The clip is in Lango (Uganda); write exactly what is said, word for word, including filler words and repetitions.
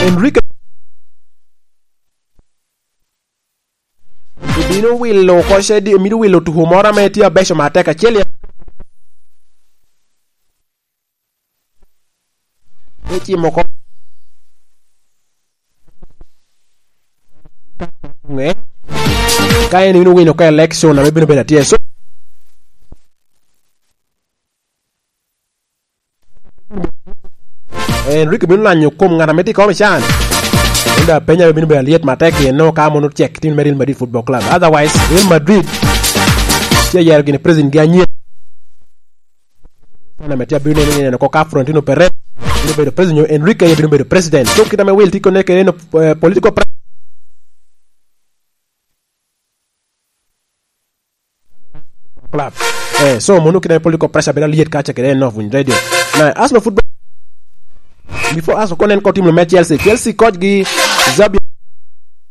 Enrique ibino wilo oko cedi, emito wilo tuko moro ame tye abeco matek acel i ecimo oko. Ka en ibino wino ka election ame bino bedo atye. So, Enrique bino lanyo kom ŋat ame tye i kom i can. Enda apenya bino bedo alyet matek i eno ka mono cek tim me Real Madrid Football Club. Otherwise, Real Madrid tye yero gini president gi anyen. Sana me tye abino neno, neno ko ka Florentino Perez bino bedo president, nyo Enrique ye bino bedo president. So, kita me wil tiko ne kede no, eh, political pre- Club. Eh, so mono kine political pressure bedo liet kaca kede en of radio. Na Arsenal Football, before Arsenal konen ko team me Chelsea. Chelsea coach gi Xabi